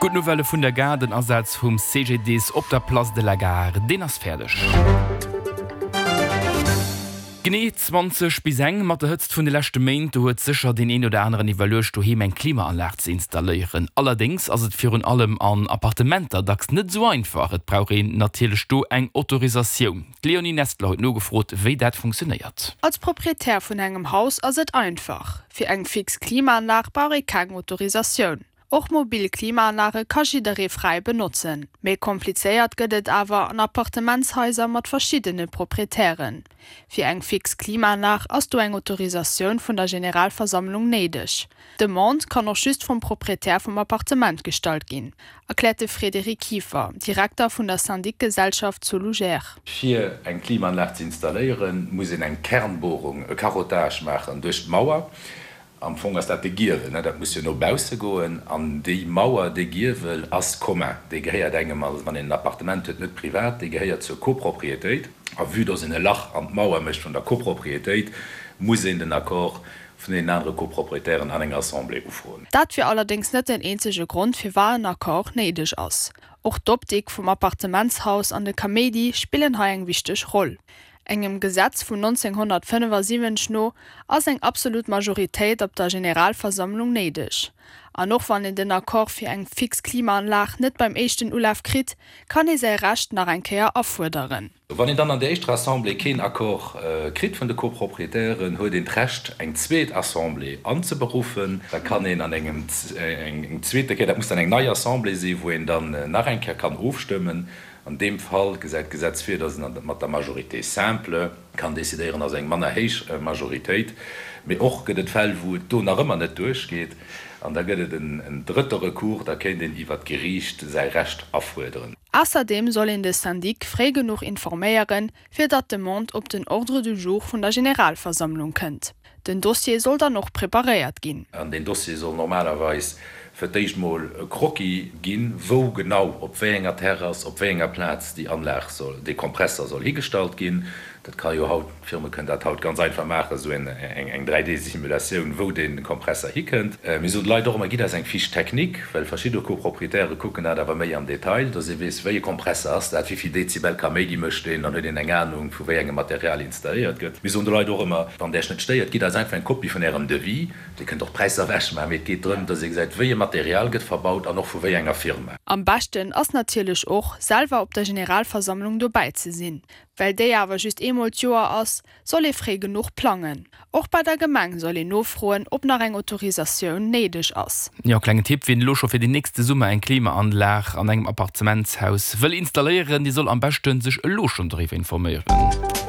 Gutt Nouvelle vun der Gare, Den Asaz vum CGDIS op der Place de la Gare, deen ass fäerdeg. Genee 20 bis eng. Mat der Hëtzt vun de leschte Méint, do huet sécher deen een oder aneren iwwerluecht, doheem eng Klimaanlag ze installéieren. Allerdéngs ass et virun allem an Appartementer dacks net esou einfach. Et brauch een natierlech do eng Autorisatioun. D'Leonie Nestler huet nogefrot, wéi dat funktionéiert. Als Proprietär vun engem Haus ass et einfach, Fir eng fix Klimaanlag brauch ee keng Autorisatioun. Och mobil Klimaanlage ka jidderee fräi benotzen. Méi komplizéiert gëtt et awer an Appartementshaiser mat verschiddene Proprietären. Fir eng fix Klimaanlag ass do eng Autorisatioun vun der Generalversammlung néideg. D'Demande kann och just vum Proprietär vum Appartement gestallt ginn, erkläert de Frédéric Kieffer, Direkter vun der Syndicgesellschaft Solugère. Fir eng Klimaanlag ze installéieren, muss een eng Kernbohrung, e Carottage maachen duerch d'Mauer. Am Fong ass dat de Giewel, dat muss jo no bausse goen. An déi Mauer, dee Giewel ass commun, dee gehéiert engem, also wann een en Appartement huet, net privat, dee gehéiert zur Copropriétéit. A vue dass een e Lach an d'Mauer mécht vun der Copropriétéit, muss een den Accord vun deenen anere Copropriétairen an enger Assemblée ufroen. Dat wier allerdéngs net den eenzege Grond, firwat en Accord néideg ass. Och d'Optik vum Appartementshaus an de Kaméidi spillen hei eng wichteg Roll. Engem Gesetz vun 1975 no ass eng absolut Majoritéit op der Generalversammlung néideg. An och wann een den Accord fir eng fix Klimaanlag net beim éischten Ulaf kritt, kann ee säi Recht nach eng Kéier afuerderen. Wann een dann an der éischter Assemblée keen Accord kritt vun de Copropriétairen, huet een d'Recht eng zweet Assemblée anzeberuffen. Da kann een an engem eng zweete Kéier, dat muss dann eng nei Assemblée sinn, wou een dann nach eng Kéier kann ofstëmmen. An deem Fall gesäit d'Gesetz vir, dass een mat der Majorité simple kann decidéieren, also eng manner héich Majoritéit. Mee och gëtt et Fäll, wou et do nach ëmmer net duerchgeet, an da gëtt et en drëtte Recours, da kéint een iwwert d'Geriicht säi Recht afuerderen. Ausserdeem soll een de Syndic fréi genuch informéieren, fir datt d'Demande op den Ordre du jour vun der Generalversammlung kënnt. Den Dossier soll dann och preparéiert ginn. An deen Dossier soll normalerweis fir d'éischt mol e Croquis ginn, wou genau, op wéi enger Terrass, op wéi enger Plaz déi Anlag soll, dee Kompresser soll higestallt ginn. Dat ka jo haut, d'Firme kënnen dat haut ganz einfach maachen, esou eng 3D-Simulatioun, wou dee Kompresser hikënnt. Mir soen de Leit och ëmmer, gitt eis eng Fiche technique, well verschidde Copropriétairë kucken dat awer méi am Detail, dass ee weess, wéi e Kompresser ass dat, wéi vill Dezibel Kaméidi mécht deen, dann huet een eng Anung, vu wéi engem Material installéiert gëtt. Mir soen de Leit och ëmmer, Wann Där iech net stéiert, gitt eis einfach eng Kopie vun Ärem Devis. Dir kënnt och d'Präisser ewechmaachen, mee et geet drëm, dass ee gesäit, wéi e Material gëtt verbaut an och vu wéi enger Firma. Am beschten ass natierlech och, selwer op der Generalversammlung dobäi ze sinn. Well déi awer just eemol d'Joer ass, soll ee fréi genuch plangen. Och bei der Gemeng soll een nofroen, ob nach eng Autorisatioun néideg ass. Jo, klengen Tipp, Wien elo scho fir den nächste Summer eng Klimaanlag an engem Appartementshaus wëll installéieren, dee soll am beschten sech elo schonn doriwwer informéieren.